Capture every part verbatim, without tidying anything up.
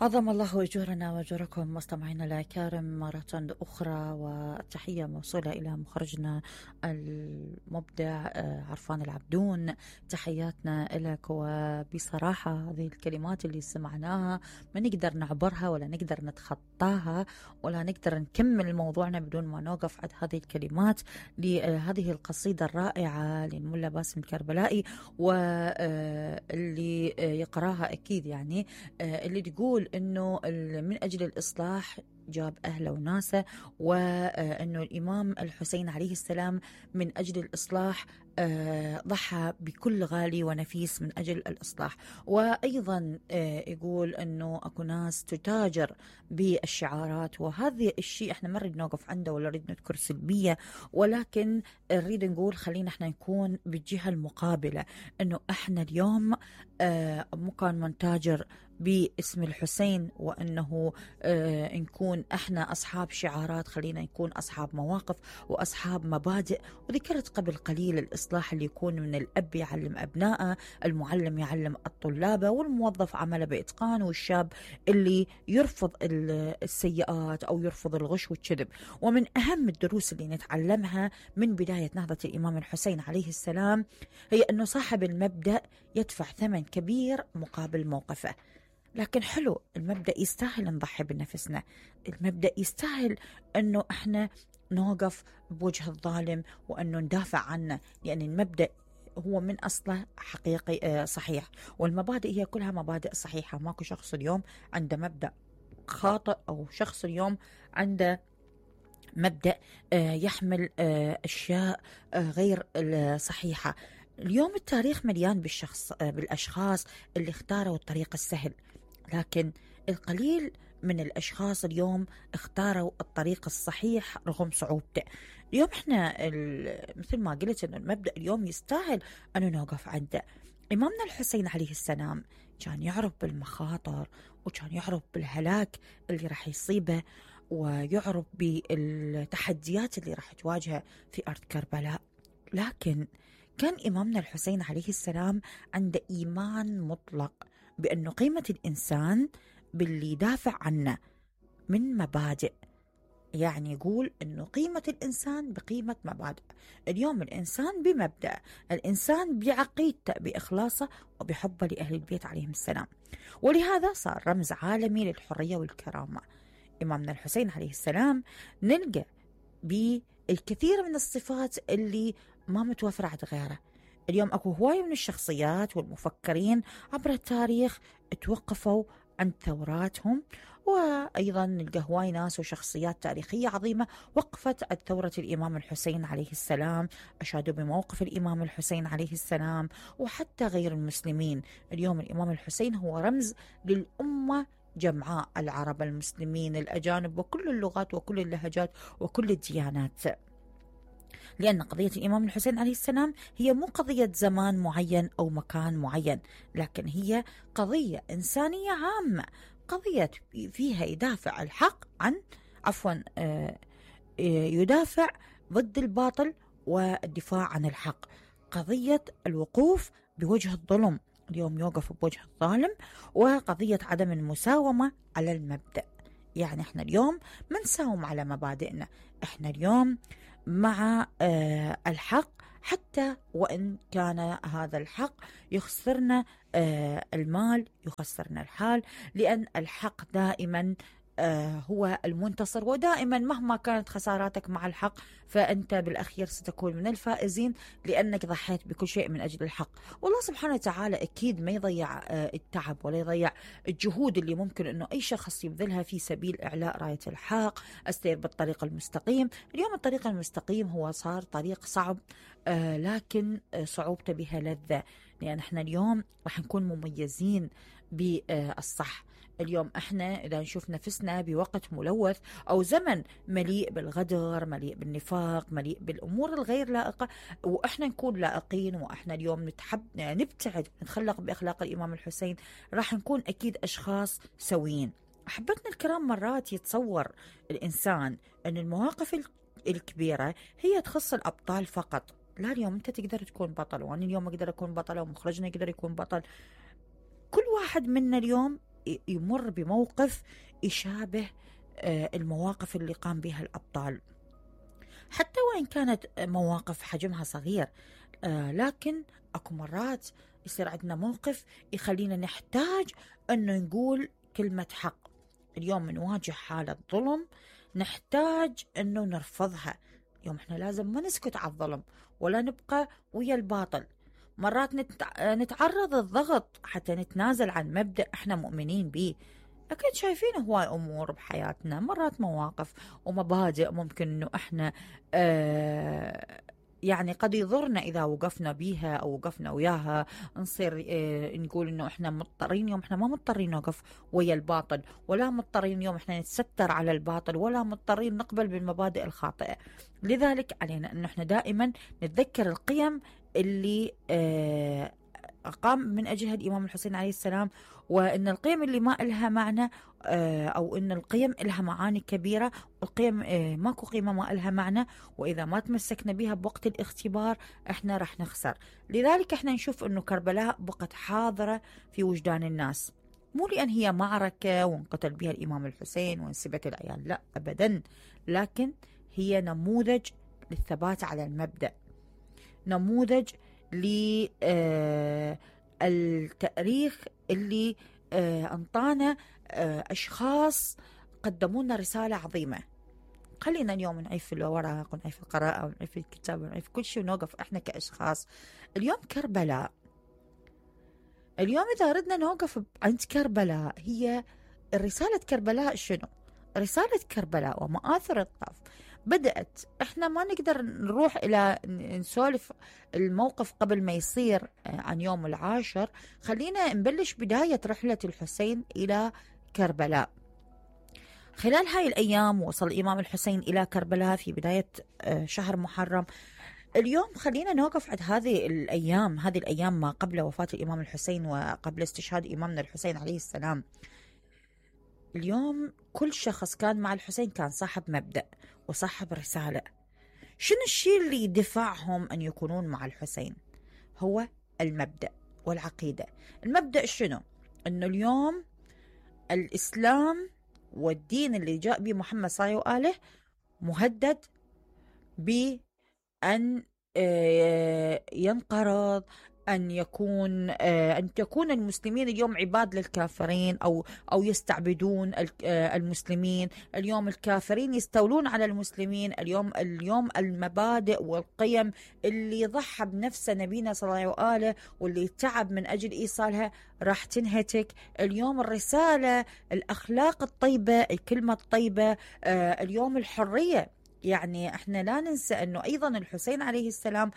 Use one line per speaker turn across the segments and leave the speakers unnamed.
عظم الله أجورنا وأجوركم مستمعينا الكرام مرة أخرى، والتحية موصولة إلى مخرجنا المبدع عرفان العبدون. تحياتنا لك. وبصراحة هذه الكلمات اللي سمعناها ما نقدر نعبرها ولا نقدر نتخطاها ولا نقدر نكمل موضوعنا بدون ما نوقف عند هذه الكلمات لهذه القصيدة الرائعة للملا باسم الكربلائي، واللي يقراها أكيد يعني اللي تقول إنه من أجل الإصلاح جاب أهله وناسه، وأنه الإمام الحسين عليه السلام من أجل الإصلاح ضحى بكل غالي ونفيس من أجل الإصلاح. وأيضا يقول أنه أكو ناس تتاجر بالشعارات، وهذا الشيء احنا ما نريد نوقف عنده ولا نريد نذكر سلبية، ولكن نريد نقول خلينا احنا نكون بالجهة المقابلة، أنه احنا اليوم مو كان منتاجر باسم الحسين وأنه آه نكون احنا أصحاب شعارات، خلينا نكون أصحاب مواقف وأصحاب مبادئ. وذكرت قبل قليل الإصلاح اللي يكون من الأب يعلم أبنائه، المعلم يعلم الطلاب، والموظف عمله بإتقان، والشاب اللي يرفض السيئات أو يرفض الغش والكذب. ومن أهم الدروس اللي نتعلمها من بداية نهضة الإمام الحسين عليه السلام هي أنه صاحب المبدأ يدفع ثمن كبير مقابل موقفه. لكن حلو، المبدأ يستاهل نضحي بنفسنا، المبدأ يستاهل أنه احنا نوقف بوجه الظالم وأنه ندافع عنه، لأن المبدأ هو من أصله حقيقي صحيح، والمبادئ هي كلها مبادئ صحيحة. ماكو شخص اليوم عنده مبدأ خاطئ أو شخص اليوم عنده مبدأ يحمل أشياء غير صحيحة. اليوم التاريخ مليان بالشخص بالأشخاص اللي اختاروا الطريق السهل، لكن القليل من الأشخاص اليوم اختاروا الطريق الصحيح رغم صعوبته. اليوم احنا مثل ما قلت أن المبدأ اليوم يستاهل أن نوقف عنده. إمامنا الحسين عليه السلام كان يعرف بالمخاطر، وكان يعرف بالهلاك اللي راح يصيبه، ويعرف بالتحديات اللي راح تواجهه في أرض كربلاء. لكن كان إمامنا الحسين عليه السلام عنده إيمان مطلق بأنه قيمة الإنسان باللي يدافع عنه من مبادئ، يعني يقول أنه قيمة الإنسان بقيمة مبادئ. اليوم الإنسان بمبدأ، الإنسان بعقيدته، بإخلاصه وبحبه لأهل البيت عليهم السلام، ولهذا صار رمز عالمي للحرية والكرامة. إمامنا الحسين عليه السلام نلقى بالكثير من الصفات اللي ما متوفرة عند غيره. اليوم أكو هواية من الشخصيات والمفكرين عبر التاريخ توقفوا عند ثوراتهم، وأيضا نلقى هواي ناس وشخصيات تاريخية عظيمة وقفت عند ثورة الإمام الحسين عليه السلام، أشادوا بموقف الإمام الحسين عليه السلام، وحتى غير المسلمين. اليوم الإمام الحسين هو رمز للأمة جمعاء، العرب، المسلمين، الأجانب، وكل اللغات وكل اللهجات وكل الديانات، لأن قضية الإمام الحسين عليه السلام هي مو قضية زمان معين أو مكان معين، لكن هي قضية إنسانية عامة، قضية فيها يدافع الحق عن عفوا يدافع ضد الباطل والدفاع عن الحق، قضية الوقوف بوجه الظلم، اليوم يوقف بوجه الظالم، وقضية عدم المساومة على المبدأ. يعني احنا اليوم ما نساوم على مبادئنا، احنا اليوم مع آه الحق، حتى وإن كان هذا الحق يخسرنا آه المال، يخسرنا الحال، لأن الحق دائما آه هو المنتصر، ودائما مهما كانت خساراتك مع الحق فأنت بالأخير ستكون من الفائزين، لأنك ضحيت بكل شيء من أجل الحق. والله سبحانه وتعالى أكيد ما يضيع آه التعب ولا يضيع الجهود اللي ممكن أنه أي شخص يبذلها في سبيل إعلاء راية الحق، أستير بالطريق المستقيم. اليوم الطريق المستقيم هو صار طريق صعب، آه لكن آه صعوبته بها لذة، لأن احنا اليوم راح نكون مميزين بالصح. اليوم احنا اذا نشوف نفسنا بوقت ملوث او زمن مليء بالغدر، مليء بالنفاق، مليء بالامور الغير لائقه، واحنا نكون لائقين، واحنا اليوم نتحب نبتعد نتخلق باخلاق الامام الحسين، راح نكون اكيد اشخاص سويين. احبتنا الكرام، مرات يتصور الانسان ان المواقف الكبيره هي تخص الابطال فقط. لا، اليوم انت تقدر تكون بطل، وانا اليوم اقدر اكون بطله، ومخرجنا يقدر يكون بطل. كل واحد منا اليوم يمر بموقف يشابه المواقف اللي قام بها الأبطال، حتى وإن كانت مواقف حجمها صغير، لكن أكو مرات يصير عندنا موقف يخلينا نحتاج أنه نقول كلمة حق. اليوم نواجه حالة ظلم نحتاج أنه نرفضها. اليوم إحنا لازم ما نسكت على الظلم ولا نبقى ويا الباطل. مرات نتعرض للضغط حتى نتنازل عن مبدأ إحنا مؤمنين به. أكيد شايفين هواي أمور بحياتنا، مرات مواقف ومبادئ ممكن أنه إحنا آه يعني قد يضرنا إذا وقفنا بيها أو وقفنا وياها، نصير آه نقول إنه إحنا مضطرين. يوم إحنا ما مضطرين نوقف ويا الباطل، ولا مضطرين يوم إحنا نتستر على الباطل، ولا مضطرين نقبل بالمبادئ الخاطئة. لذلك علينا إنه إحنا دائما نتذكر القيم اللي آه قام من أجلها الإمام الحسين عليه السلام، وإن القيم اللي ما إلها معنى أو إن القيم إلها معاني كبيرة، والقيم ماكو قيمة ما إلها معنى، وإذا ما تمسكنا بها بوقت الاختبار إحنا رح نخسر. لذلك إحنا نشوف إنه كربلاء بقت حاضرة في وجدان الناس، مو لأن هي معركة وانقتل بها الإمام الحسين وانسبت العيال، لا أبدا، لكن هي نموذج للثبات على المبدأ، نموذج للتاريخ اللي أنطانا أشخاص قدموا لنا رسالة عظيمة. خلينا اليوم نعيش في الورق ونعيش في القراءة ونعيش في الكتاب ونعيش في كل شيء ونوقف إحنا كأشخاص. اليوم كربلاء، اليوم إذا ردنا نوقف عند كربلاء، هي رسالة كربلاء شنو؟ رسالة كربلاء ومآثر الطف بدأت، إحنا ما نقدر نروح إلى نسولف الموقف قبل ما يصير عن يوم العاشر. خلينا نبلش بداية رحلة الحسين إلى كربلاء. خلال هاي الأيام وصل الإمام الحسين إلى كربلاء في بداية شهر محرم. اليوم خلينا نوقف عند هذه الأيام، هذه الأيام ما قبل وفاة الإمام الحسين وقبل استشهاد إمامنا الحسين عليه السلام. اليوم كل شخص كان مع الحسين كان صاحب مبدأ وصاحب رسالة. شنو الشيء اللي يدفعهم أن يكونون مع الحسين؟ هو المبدأ والعقيدة. المبدأ شنو؟ أنه اليوم الإسلام والدين اللي جاء به محمد صلى الله عليه وآله مهدد بأن ينقرض، أن يكون أن تكون المسلمين اليوم عباد للكافرين أو أو يستعبدون المسلمين. اليوم الكافرين يستولون على المسلمين. اليوم اليوم المبادئ والقيم اللي ضحى بنفسه نبينا صلى الله عليه وآله واللي تعب من أجل إيصالها راح تنهتك. اليوم الرسالة، الأخلاق الطيبة، الكلمة الطيبة، اليوم الحرية. يعني احنا لا ننسى أنه أيضا الحسين عليه السلام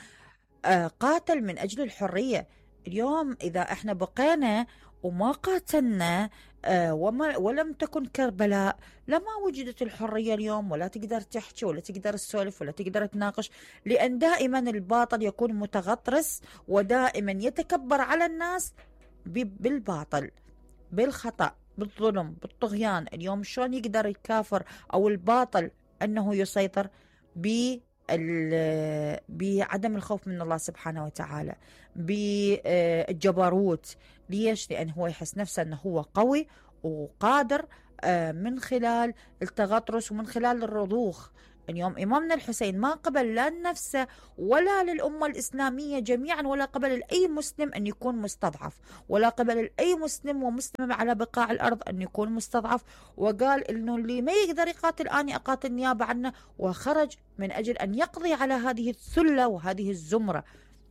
قاتل من أجل الحرية. اليوم إذا احنا بقينا وما قاتلنا وما ولم تكن كربلاء لما وجدت الحرية اليوم، ولا تقدر تحكي ولا تقدر تسولف ولا تقدر تناقش، لأن دائما الباطل يكون متغطرس ودائما يتكبر على الناس بالباطل، بالخطأ، بالظلم، بالطغيان. اليوم شلون يقدر الكافر أو الباطل أنه يسيطر ب بعدم الخوف من الله سبحانه وتعالى، بالجبروت. ليش؟ لأن هو يحس نفسه أنه هو قوي وقادر من خلال التغطرس ومن خلال الرضوخ. اليوم إمامنا الحسين ما قبل لا لنفسه ولا للأمة الإسلامية جميعا، ولا قبل أي مسلم أن يكون مستضعف، ولا قبل أي مسلم ومسلم على بقاع الأرض أن يكون مستضعف، وقال إنه اللي ما يقدر يقاتل أنا أقاتل نيابة عنه، وخرج من أجل أن يقضي على هذه الثلة وهذه الزمرة.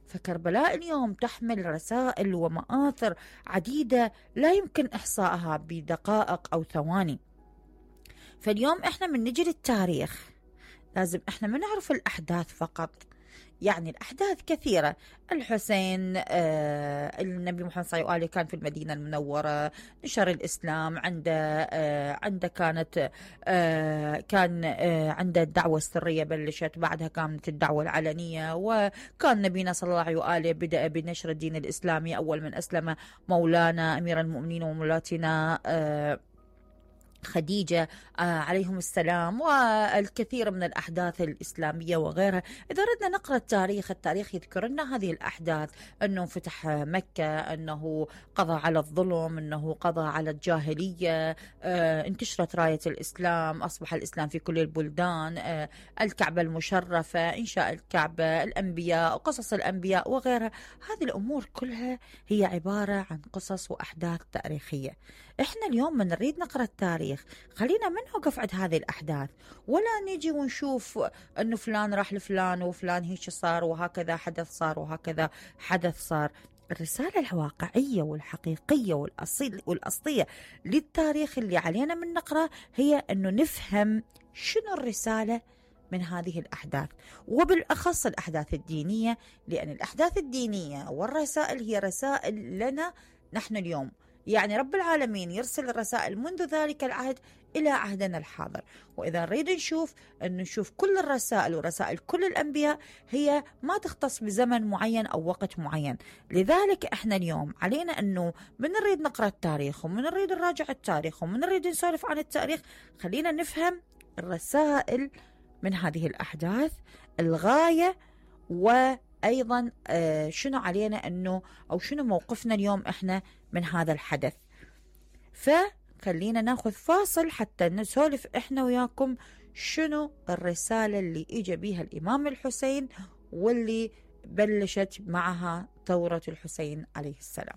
فكربلاء اليوم تحمل رسائل ومآثر عديدة لا يمكن إحصائها بدقائق أو ثواني. فاليوم إحنا من نجي للتاريخ لازم إحنا ما نعرف الأحداث فقط، يعني الأحداث كثيرة. الحسين آه النبي محمد صلى الله عليه وآله كان في المدينة المنورة، نشر الإسلام عنده، آه عنده كانت آه كان آه عنده الدعوة السرية بلشت، بعدها كانت الدعوة العلنية، وكان نبينا صلى الله عليه وآله بدأ بنشر الدين الإسلامي. أول من أسلم مولانا أمير المؤمنين ومولاتنا آه خديجة عليهم السلام والكثير من الأحداث الإسلامية وغيرها. إذا ردنا نقرأ التاريخ، التاريخ يذكر لنا هذه الأحداث، أنه فتح مكة، أنه قضى على الظلم، أنه قضى على الجاهلية، انتشرت راية الإسلام، أصبح الإسلام في كل البلدان، الكعبة المشرفة، إنشاء الكعبة، الأنبياء، قصص الأنبياء وغيرها. هذه الأمور كلها هي عبارة عن قصص وأحداث تاريخية. إحنا اليوم من نريد نقرأ التاريخ، خلينا ما نوقف عند هذه الأحداث، ولا نيجي ونشوف أنه فلان راح لفلان وفلان هيك صار وهكذا حدث صار وهكذا حدث صار. الرسالة الواقعية والحقيقية والأصيل والأصلية للتاريخ اللي علينا من نقرأ هي أنه نفهم شنو الرسالة من هذه الأحداث، وبالأخص الأحداث الدينية، لأن الأحداث الدينية والرسائل هي رسائل لنا نحن اليوم. يعني رب العالمين يرسل الرسائل منذ ذلك العهد إلى عهدنا الحاضر. وإذا نريد نشوف أن نشوف كل الرسائل ورسائل كل الأنبياء هي ما تختص بزمن معين أو وقت معين. لذلك إحنا اليوم علينا أنه من نريد نقرأ التاريخ ومن نريد نراجع التاريخ ومن نريد نسولف عن التاريخ، خلينا نفهم الرسائل من هذه الأحداث، الغاية، وأيضا شنو علينا أنه أو شنو موقفنا اليوم إحنا من هذا الحدث. فخلينا ناخذ فاصل حتى نسولف إحنا وياكم شنو الرسالة اللي إجا بيها الإمام الحسين واللي بلشت معها ثورة الحسين عليه السلام.